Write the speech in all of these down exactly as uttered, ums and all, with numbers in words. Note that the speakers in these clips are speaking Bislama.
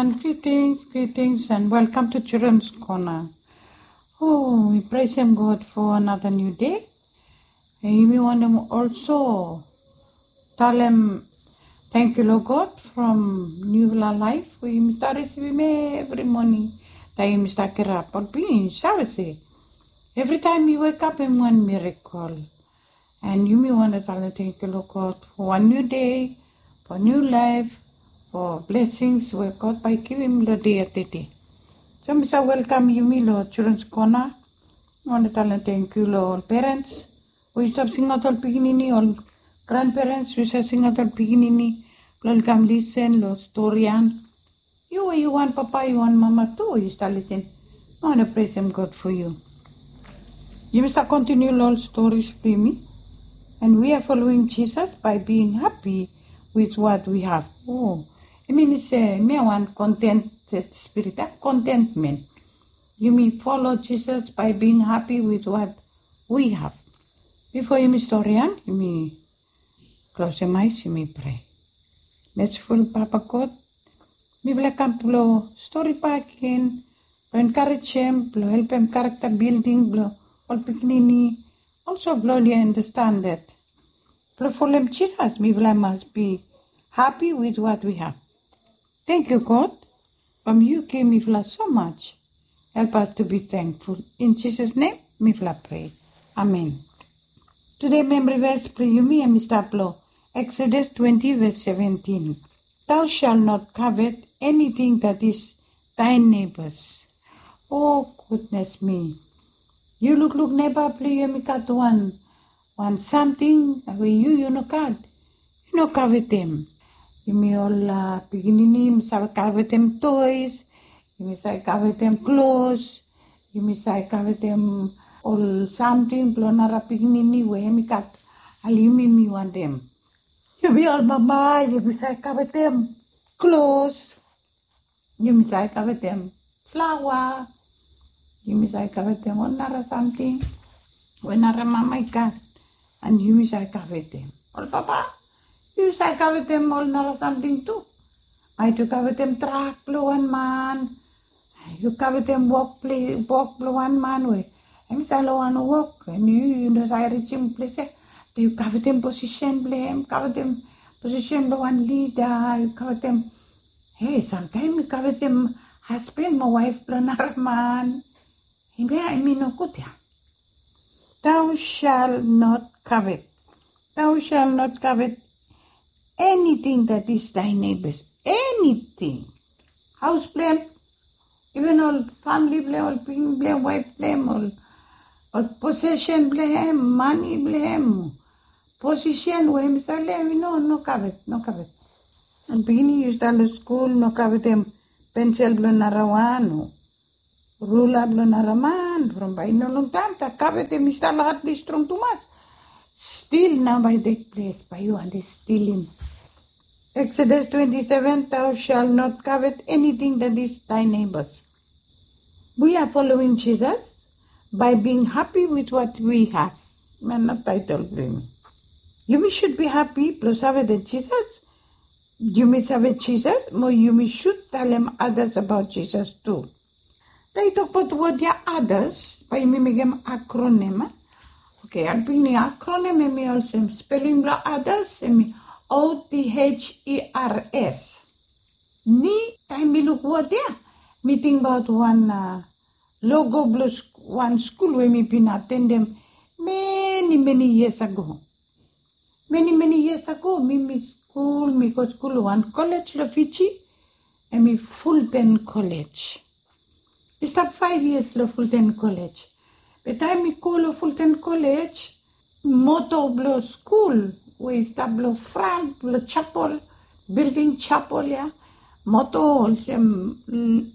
Greetings, greetings, and welcome to Children's Corner. Oh, we praise Him, God, for another new day. And we want to also tell Him thank you, Lord God, from new life. We start receiving every morning. That we start get up, but we shall say, every time you wake up in one miracle. And yumi wantem talem tangkiu long God for wan niu dei, for niu laef, for blessings we God bae i givim long dei ya tede. So mi save welkam yumi long Children's Corner. Mi wantem talem tangkiu long ol perens we yu stap singaot ol pikinini, ol granperens we yu save singaot ol pikinini blong ol i kam lisen long stori ya. Yu we yu wan papa, yu wan mama tu, yu stap lisen. Mi wantem presem God for yu. Yumi stap kontiniu long ol storis blong yumi. And we are following Jesus by being happy with what we have. Oh, i min se mi wan contented spirit, a contentment. Yumi follow Jesus by being happy with what we have. Bifo yumi stori ya, yumi klosem ai, yumi prea. Mesiful Papa God, mifala i kam blong stori bakegen, blong enkarejem, blong helpem character building blong ol pikinini. Also blong oli understand that blong folem Jisas mifala i mas be happy with what we have. Tangkiu God, from yu givim mifala so much. Help us to be thankful. In Jesus' name mifala prea. Amen. Tede memori ves blong yumi hemi stap long Exodus twenty ves seventin. Thou shalt not covet anything that is thy neighbor's. Oh, goodness me. Yu lukluk neba blong yu hemi gat wan, wan samting we yu, yu no gat. Yu no kavetem. Yumi ol pikinini yumi save kavetem toys, yumi save kavetem klos, yumi save kavetem ol samting blong nara pikinini we hemi gat. Ale yumi, mi wantem. Yumi ol mama yumi save kavetem klos. Yumi save kavetem flaoa. Yumi save kavetem ol nara samting we nara mama i gat. And yumi save kavetem. Ol papa, yu save kavetem ol nara samting tu. Maet yu kavetem trak blong wan man, yu kavetem wok blong wan man we hemi save long wan wok, and yu, yu no save rijim ples ya. Yu kavetem posisen blong hem, kavetem posisen blong wan lida, yu kavetem. Hei, samtaem yu kavetem hasban mo waef blong nara man. Hemia hemi nogud ya. Thou shalt not covet. Thou shalt not covet anything that is thy neighbor's. Anything. Haos blong hem, even ol famili blong hem, ol pikinini blong hem, waef blong hem, ol, ol posesen blong hem, mane blong hem, posisen we hemi save long hem, no, no kavet, no kavet. Ol pikinini yu stap long skul, no kavetem pensel blong nara wan o rula blong nara man. From bae i no longtaem, dat kavet hemi stap long hat blong yu strong tumas. Stil nao bae i tek ples, bae yu wantem stilim. Exodus twenty-seven, thou shalt not covet anything that is thy neighbor's. We are following Jesus by being happy with what we have. Hemia nao taetol blong yumi. Yumi should be happy blong save dat Jisas, yumi save Jisas, mo yumi should talem others about Jesus tu. Taem i tokbaot wod ya others, bae yumi mekem akronim, a? Oke, ol pikinini, akronim hemi olsem, speling blong others hemi O T H E R S. Mi, taem mi luk wod ya, mi tingbaot wan, a, logo blong wan skul we mi bin atendem many, many years ago. Many, many years ago, mi, mi skul, mi go skul long wan kolej long Fiji, hemi Fulton College. Mi stap faef yias long Fulton College. Be taem mi go long Fulton College, moto blong skul we i stap long fran blong japol, bilding japol ya, moto olsem, mm,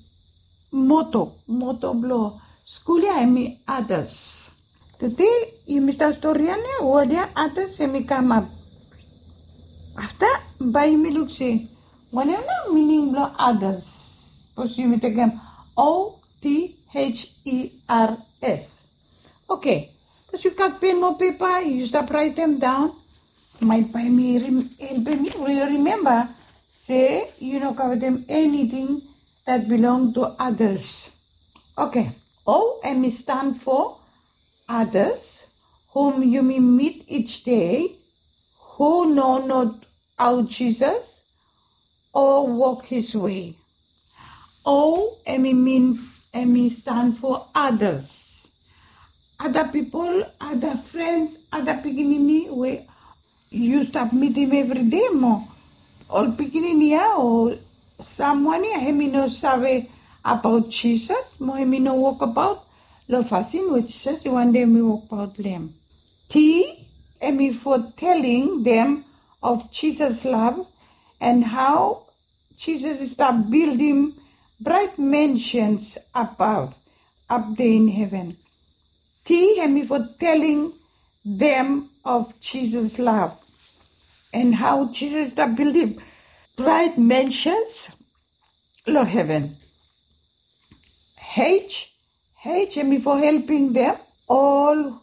moto, moto blong skul ya hemi others. Tede yumi stap stori ya nao, wod ya others hemi kamap. Afta bae yumi luk se wanem nao mining blong others. Sapos yumi tekem O T H E R S. Oke. Sapos yu gat pen mo pepa, yu stap raetem daon. Maet bae hemi helpem yu rimemba se yu no kavetem eniting that belong to others. Okay. O hemi stan fo others, whom yumi meet each day, who know not our Jesus or walk his way. O hemi min, hemi stan fo others. Ada pipol, ada frens, ada pikinini we yu stap mitim evri dei mo ol pikinini ya o samwan ya hemi no save abaot Jisas mo hemi no wokbaot long fasin we Jisas i wantem i wokbaot long hem. T hemi fo telling them of Jesus love and how Jisas i stap bildim braet mansions above, up there in heaven. T hemi fo telling them of Jesus love and how Jisas i stap bildim braet mansions long heven. H, H hemi fo helpim them all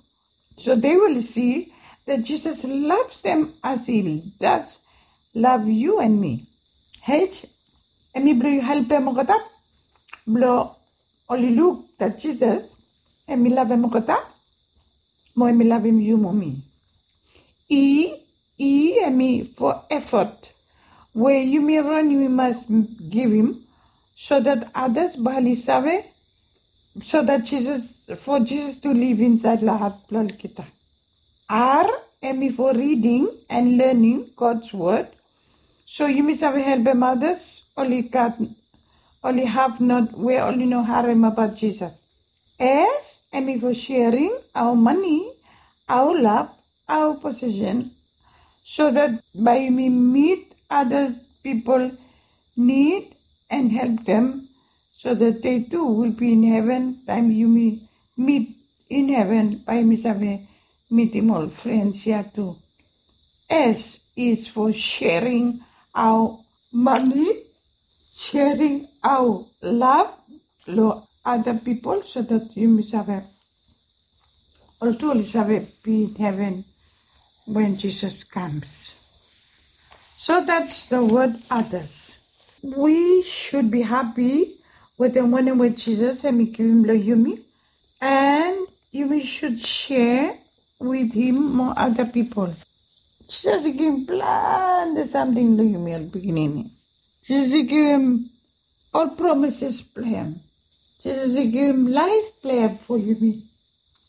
so they will see that Jesus loves them as he does love you and me. H hemi blo yu helpem olgeta blo oli luk that Jesus hemi lavem olgeta mo hemi lavem yu mo mi. E, E hemi fo effort we yumi ron yumi mas givim so that others bae oli save, so that Jesus, for Jesus to live inside long hat blo olgeta. R hemi fo reading and learning God's word so yumi save helpem others oli gat, oli have not we oli no harem abaot Jisas. S hemi fo sharing our money, our love, our possession so that bae yumi meet other pipol need and help them so that they too will be in heaven taem yumi meet in heaven bae yumi save mitim ol frens ya tu. S is for sharing our money, sharing our love long other pipol so that yumi save ol tu oli save be in heven when Jesus comes. So that's the word others. We should be happy wetem wanem we Jesus hemi givim long yumi and yumi should share with him mo other pipol. Jesus i givim plante samting long yumi ol pikinini. Jesus i givim ol promises blong hem. Jesus i givim laef blong hem fo yumi.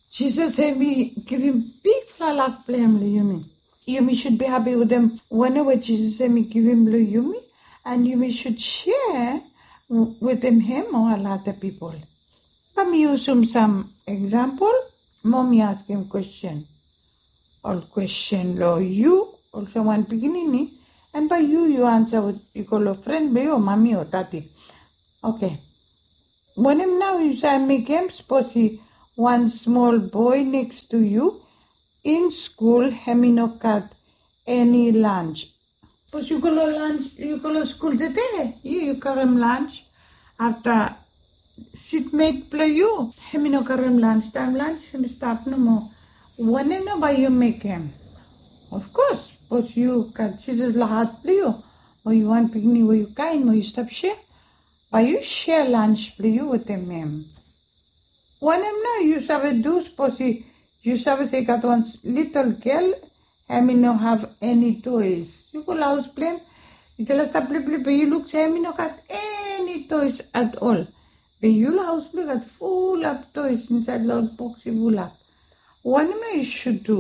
Jesus hemi givim bigfala laf blong hem long yumi. Yumi should be happy wetem wanem we Jesus hemi givim long yumi and yumi should share wetem hem o ol ada pipol. Bae mi yusum sam eksampol mo mi askem kwesten. Ol kwesten long yu olsem wan pikinini and bae yu yu ansa we yu go long fren blong yu o mami o dadi. Oke. Wanem nao yu save mekem sapos i wan smol boe neks to yu in skul hem i no gat eni lans? Sapos yu go long lans, yu go long skul tede, yu yu karem lans. Afta sitmet blong yu hem i no karem lans, taem lans hem i stap nomo. Wanem nao bae yu mekem? Ofkos sapos yu gat Jisas long hat blong yu o yu wan pikinini we yu kaen mo yu stap share, bae yu share lans blong yu wetem hem. Wanem nao yu save du sapos yu save se i gat wan litel gel hem i no have eni toes? Yu go long haos blong hem, yu talem stap pleplei be yu luk se hem i no gat eni toes at ol. Be yu long haos blong yu gat fulap toes insaed long ol boks i fulap. Wanem nao yu sud du?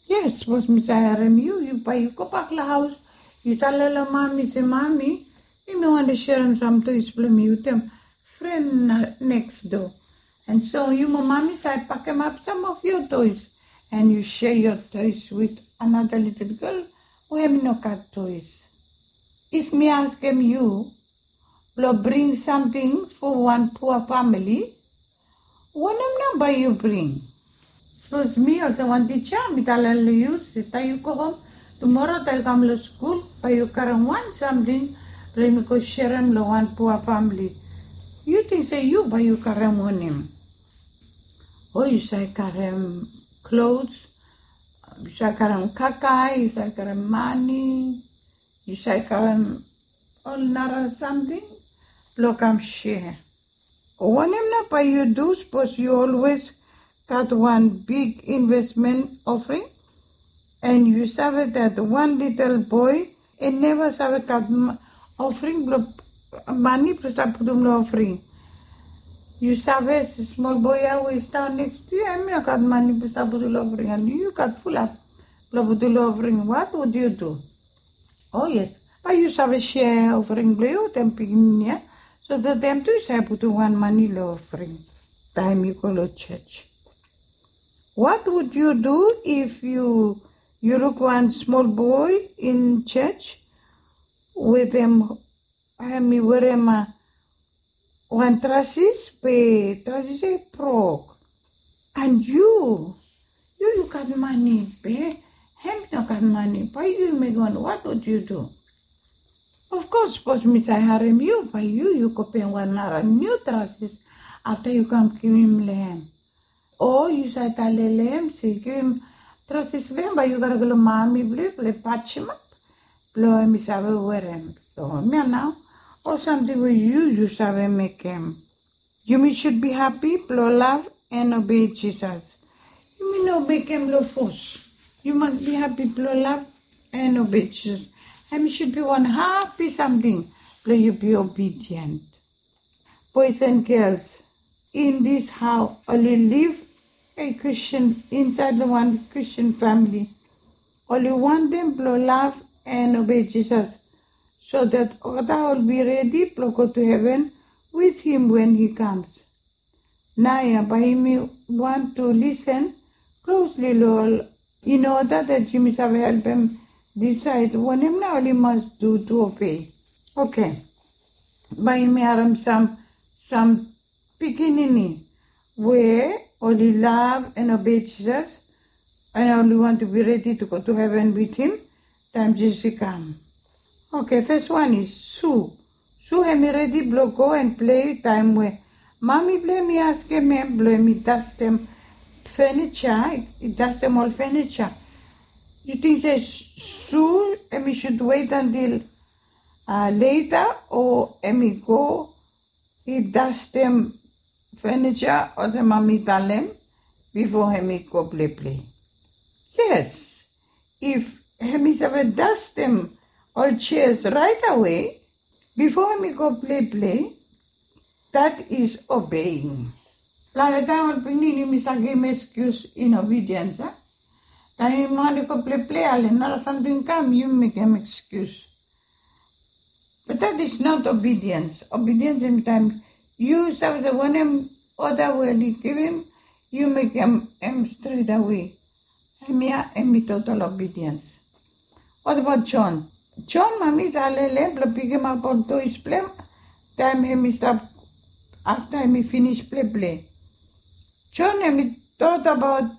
Yes, sapos mi save harem yu, yu bae yu gobak long haos, yu talem long mami se, mami, mi wantem serem sam toes blong mi wetem fren neks doa. And so yu mo mami save pakemap sam of your toes and yu share your toes with another little girl we hem i no gat toes. If mi askem yu blong bring samting fo wan pua famili, wanem nao bae yu bring? Sapos mi olsem wan tija mi talem long yu se taem yu go hom tumora taem yu kam long skul bae yu karem wan samting blong yumi go serem long wan pua famili. Yu ting se yu bae yu karem wanem? O yu save karem klos, yu save karem kakae, yu save karem mane, yu save karem ol nara samting blong kam share. Wanem nao bae yu du sapos yu always gat wan big investment offering and yu save that wan little boy i neva save gat offering blong mani blong stap putum long offering. Yu save smol boy ya we i stap neks tu yu em i no gat mani blong stap putum long offering and yu gat fulap blong putum long offering. What would you do? Oh yes, bae yu save share offering blong yu wetem pikinini ya so that dem tu i save putum wan mani long offering taem yu go long church. What would you do if you you look one small boy in church with him hemi werim wan trasis be trasis ya i brok? And yu yu yu gat mani be hem i no gat mani bae yu mekem wan what would you do? Of course sapos mi save harem yu bae yu yu go pem wan nara niu trasis afta yu kam givim long hem. O yu save talem long hem se givim trasis blong hem bae yu gare go long mami blong yu blong pajemap blong hem i save werem. Long hem ya nao ol samting we yu yu save mekem. Yumi should be happy blong lav and obei Jisas. Yumi no mekem long fos. Yu mas be happy blong lav and obei Jisas. Hem i should be wan happy samting blong yu be obedient. Boys and girls, in this hao oli liv a Christian insaed long wan Christian famili. Oli wantem blong lav and obei Jisas so that olgeta oli be redi blong go to heven with him when he comes. Naoia bae yumi want to listen closely long ol in order that yumi save helpem decide wanem nao oli mas do to obei. Okay, bae yumi harem sam sam pikinini we oli lav and obei Jisas and oli want to be ready to go to heven with him taem Jisas i kam. Okay, first one is Su. Su hemi redi blong go and play taem we mami blong hem i askem hem blong hem i dastem furniture, i dastem ol furniture. Yu ting se Su hemi should wait until later o hemi go i dastem furniture olsem mami i talem bifo hemi go pleple? Yes, if hemi save dastem ol chairs right away bifo hemi go pleple, that is obeying. Long taem ol pikinini yumi save givim excuse in obedience a taem yumi wantem go pleple ale nara samting kam yumi mekem excuse. But that is not obedience. Obedience hemi taem yu save se wanem order we oli givim yu mekem hem stret awe. Hemia hemi total obedience. What about John? John mami i talem long hem blong pikimap ol toys blong hem taem hemi stap afta hemi finis pleple. John hemi thought about